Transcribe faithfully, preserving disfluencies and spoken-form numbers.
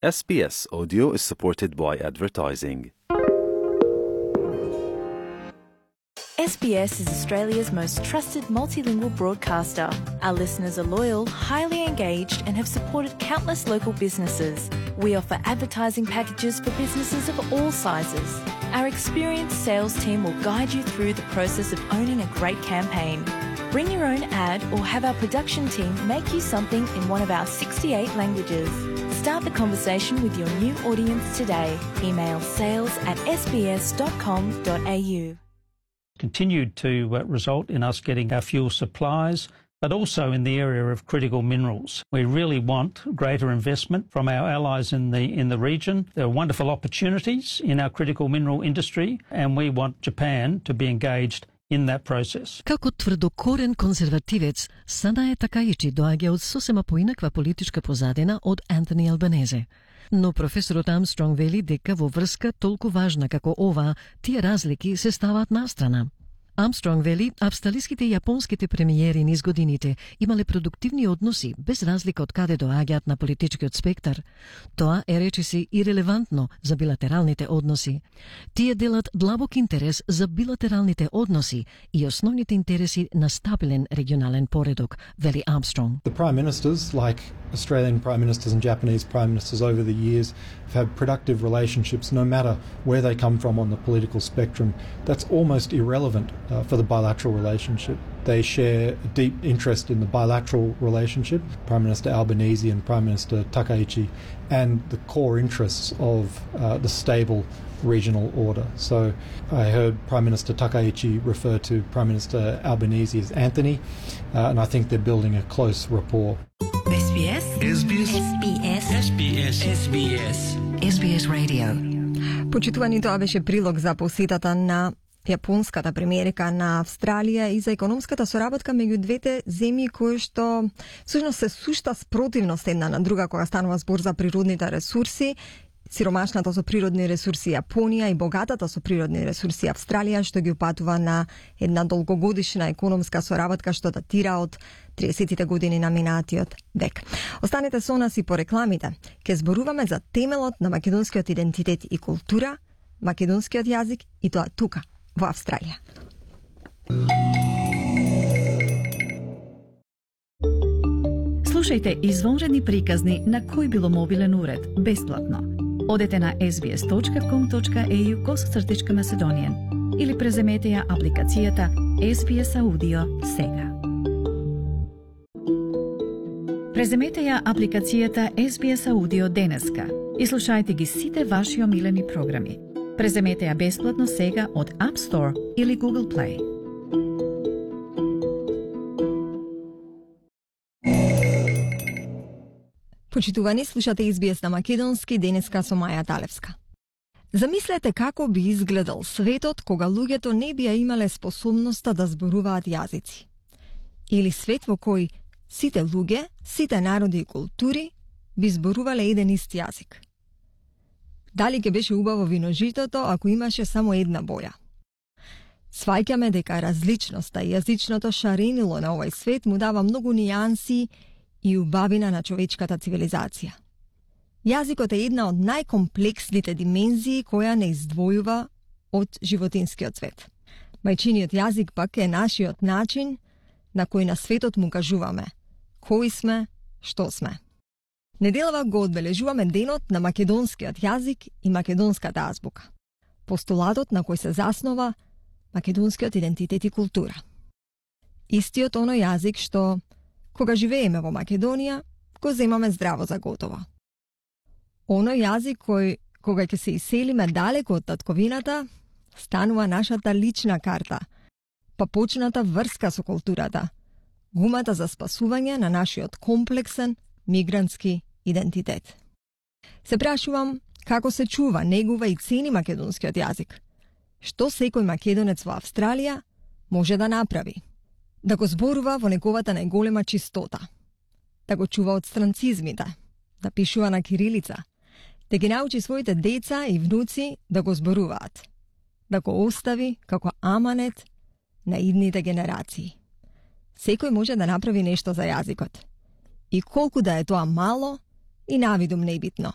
S B S Audio is supported by advertising. S B S is Australia's most trusted multilingual broadcaster. Our listeners are loyal, highly engaged, and have supported countless local businesses. We offer advertising packages for businesses of all sizes. Our experienced sales team will guide you through the process of owning a great campaign. Bring your own ad or have our production team make you something in one of our sixty-eight languages. Start the conversation with your new audience today. Email sales at s b s dot com dot a u. Continued to uh, result in us getting our fuel supplies, but also in the area of critical minerals. We really want greater investment from our allies in the in the region. There are wonderful opportunities in our critical mineral industry, and we want Japan to be engaged in that process. Како тврдокорен конзервативец, Санаe Takaichi доаѓа од сосема поинаква политичка позадина од Антони Албанезе. Но професорот Армстронг вели дека во врска толку важна како ова, тие разлики се ставаат настрана. Армстронг вели, австралиските и јапонските премиери низ годините имале продуктивни односи без разлика од каде доаѓаат на политичкиот спектар. Тоа е речиси ирелевантно за билатералните односи. Тие делат длабок интерес за билатералните односи и основните интереси на стабилен регионален поредок, вели Армстронг. The prime ministers, like Australian prime ministers and Japanese prime ministers over the years, have had productive relationships no matter where they come from on the political spectrum. That's almost irrelevant uh, for the bilateral relationship. They share a deep interest in the bilateral relationship, Prime Minister Albanese and Prime Minister Takaichi, and the core interests of uh, the stable regional order. So I heard Prime Minister Takaichi refer to Prime Minister Albanese as Anthony, uh, and I think they're building a close rapport. S B S S B S S B S S B S S B S S B S Radio. Почитувани, тоа беше прилог за посетата на јапонската премиерка на Австралија и за економската соработка меѓу двете земји кои што всушност се сушта спротивност една на друга кога станува збор за природните ресурси. Сиромашната со природни ресурси Јапонија и богатата со природни ресурси Австралија, што ги упатува на една долгогодишна економска соработка што датира од триесеттите години на минатиот век. Останете со нас и по рекламите. Ке зборуваме за темелот на македонскиот идентитет и култура, македонскиот јазик и тоа тука во Австралија. Слушајте извонредни приказни на кој било мобилен уред, бесплатно. Одете на s b s dot com dot a u косацртичка Macedonian или преземете ја апликацијата S B S Audio сега. Преземете ја апликацијата S B S Audio денеска и слушајте ги сите ваши омилени програми. Преземете ја бесплатно сега од App Store или Google Play. Почитувани, слушате С Б С на македонски, денеска со Маја Талевска. Замислете како би изгледал светот кога луѓето не би ја имале способноста да зборуваат јазици. Или свет во кој сите луѓе, сите народи и култури би зборувале еден ист јазик. Дали ќе беше убаво виножитото ако имаше само една боја? Сваќаме дека различноста и јазичното шаренило на овој свет му дава многу нијанси и убавина на човечката цивилизација. Јазикот е една од најкомплексните димензии која не издвојува од животинскиот свет. Мајчиниот јазик пак е нашиот начин на кој на светот му кажуваме кои сме, што сме. Неделава го одбележуваме денот на македонскиот јазик и македонската азбука, постулатот на кој се заснова македонскиот идентитет и култура. Истиот оној јазик што кога живееме во Македонија, го земаме здраво за готово. Оној јазик кој, кога ќе се иселиме далеко од татковината, станува нашата лична карта, па почната врска со културата, гумата за спасување на нашиот комплексен мигрантски идентитет. Се прашувам како се чува, негува и цени македонскиот јазик. Што секој македонец во Австралија може да направи? Да го зборува во неговата најголема чистота, да го чува од странцизмите, да пишува на кирилица, да ги научи своите деца и внуци да го зборуваат, да го остави како аманет на идните генерации. Секој може да направи нешто за јазикот. И колку да е тоа мало и навидум небитно.